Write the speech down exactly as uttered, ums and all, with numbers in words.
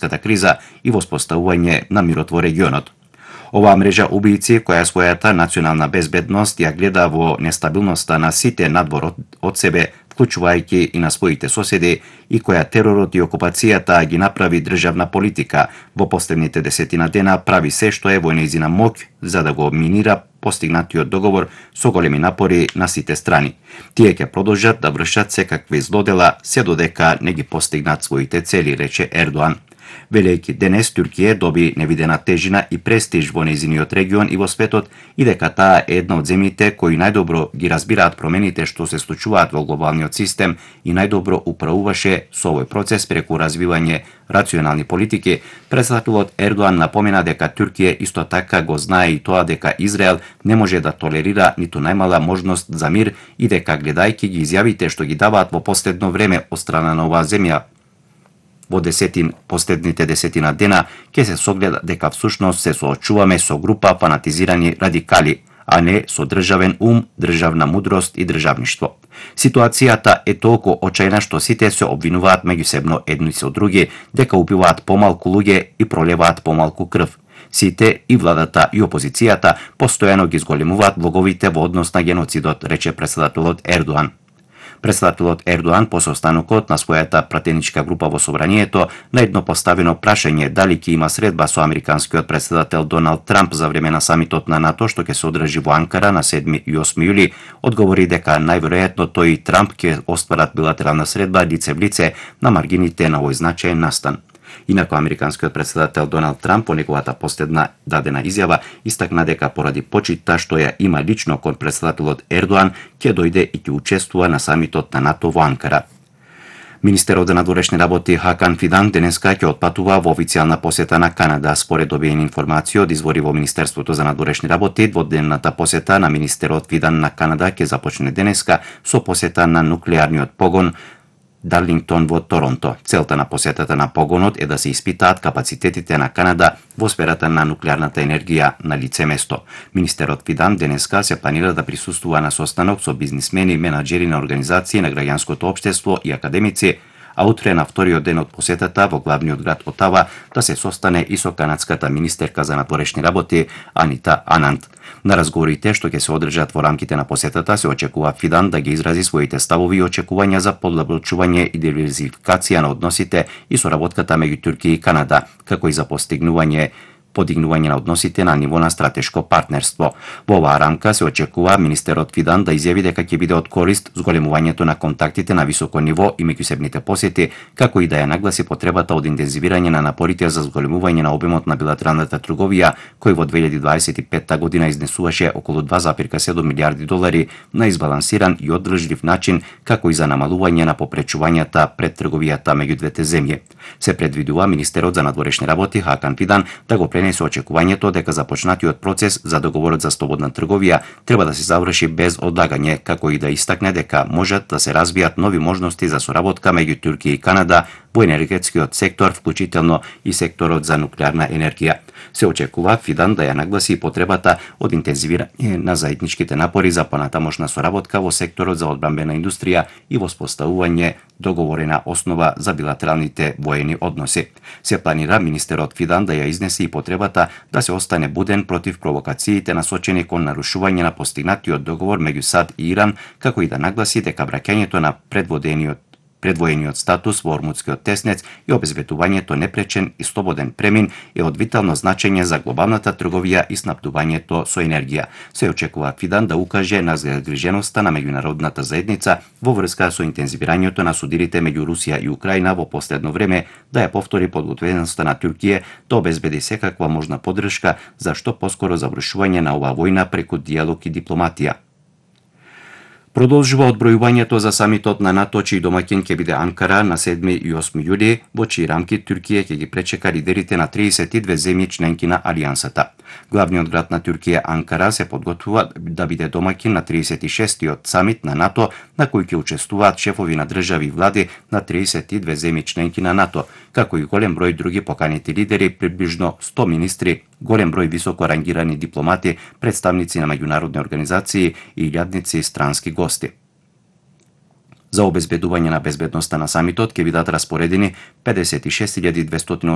криза и воспоставување на мирот во регионот. Оваа мрежа убијци, која својата национална безбедност ја гледа во нестабилноста на сите надвор од себе, вклучувајќи и на своите соседи, и која теророт и окупацијата ги направи државна политика, во последните десетина дена прави се што е во нејзина моќ за да го минира постигнатиот договор со големи напори на сите страни. Тие ќе продолжат да вршат секакви злодела се додека не ги постигнат своите цели, рече Ердоан. Велејќи денес Туркија доби невидена тежина и престиж во нејзиниот регион и во светот и дека таа е една од земјите кои најдобро ги разбираат промените што се случуваат во глобалниот систем и најдобро управуваше со овој процес преку развивање рационални политики. Председателот Ердоан напомена дека Туркија исто така го знае и тоа дека Израел не може да толерира ниту најмала можност за мир и дека гледајќи ги изјавите што ги даваат во последно време од страна на оваа земја во десетин последните десетина дена ќе се согледа дека всушност се соочуваме со група фанатизирани радикали, а не со државен ум, државна мудрост и државништво. Ситуацијата е толку очајна што сите се обвинуваат меѓусебно едни со други дека убиваат помалку луѓе и пролеваат помалку крв. Сите, и владата и опозицијата, постојано ги зголемуваат влоговите во однос на геноцидот, рече председателот Ердоан. Председателот Ердоан по состанокот на својата пратеничка група во собранието на едно поставено прашање дали ќе има средба со американскиот председател Доналд Трамп за време на самитот на НАТО што ќе се одржи во Анкара на седми и осми јули, одговори дека најверојатно тој и Трамп ќе остварат билатерална средба лице в лице на маргините на овој значаен настан. Инаку американскиот председател Доналд Трамп по неговата последна дадена изјава истакна дека поради почитта што ја има лично кон председателот Ердоан ќе дојде и ќе учествува на самитот на НАТО во Анкара. Министерот за надворешни работи Хакан Фидан денеска ќе отпатува во официјална посета на Канада. Според добиени информации од извори во Министерството за надворешни работи, дводневната посета на министерот Фидан на Канада ќе започне денеска со посета на нуклеарниот погон Дарлингтон во Торонто. Целта на посетата на погонот е да се испитаат капацитетите на Канада во сферата на нуклеарната енергија на лице место. Министерот Фидан денеска се планира да присуствува на состанок со бизнисмени, менаџери на организации на граѓанското општество и академици, а утре на вториот ден од посетата во главниот град Отава да се состане и со канадската министерка за надворешни работи Анита Ананд. На разговорите што ќе се одржат во рамките на посетата се очекува Фидан да ги изрази своите ставови и очекувања за подлабочување и диверзификација на односите и соработката меѓу Туркија и Канада, како и за постигнување подигнување на односите на ниво на стратешко партнерство. Во оваа рамка се очекува министерот Фидан да изјави дека ќе биде од корист зголемувањето на контактите на високо ниво и меѓусебните посети, како и да ја нагласи потребата од интензивирање на напорите за зголемување на обемот на билатералната трговија, кој во две илјади дваесет и петта година изнесуваше околу два запирка седум милијарди долари на избалансиран и оддржлив начин, како и за намалување на попречувањата пред трговијата меѓу двете земји. Се предвидува министерот за надворешни работи Хакан Фидан да го пренесе очекувањето дека започнатиот процес за договорот за слободна трговија треба да се заврши без одлагање, како и да истакне дека можат да се развијат нови можности за соработка меѓу Туркија и Канада во енергетскиот сектор, вклучително и секторот за нуклеарна енергија. Се очекува Фидан да ја нагласи и потребата од интензивирање на заедничките напори за понатамошна соработка во секторот за одбранбена индустрија и воспоставување договорена основа за билатералните воени односи. Се планира министерот Фидан да ја изнесе и потребата да се остане буден против провокациите насочени кон нарушување на постигнатиот договор меѓу САД и Иран, како и да нагласи дека враќањето на предводениот предвоениот статус во Ормудскиот теснец и обезбедувањето непречен и слободен премин е од витално значење за глобалната трговија и снабдувањето со енергија. Се очекува Фидан да укаже на загриженоста на меѓународната заедница во врска со интензивирањето на судирите меѓу Русија и Украина во последно време, да ја повтори подготвеността на Туркија да обезбеди секаква можна поддршка за што поскоро завршување на оваа војна преку диалог и дипломатија. Продолжува одбројувањето за самитот на НАТО, чиј домаќин ќе биде Анкара на седми и осми јули, во чии рамки Туркија ќе ги пречека лидерите на триесет и две земји членки на Алијансата. Главниот град на Туркија, Анкара, се подготвува да биде домаќин на триесет и шестиот самит на НАТО, на кој ќе учествуваат шефови на држави и влади на триесет и две земји членки на НАТО, како и голем број други поканети лидери, приближно сто министри, голем број високо рангирани дипломати, представници на меѓународни организации и илјадници странски гости. За обезбедување на безбедноста на самитот ќе бидат распоредени педесет и шест илјади двестоти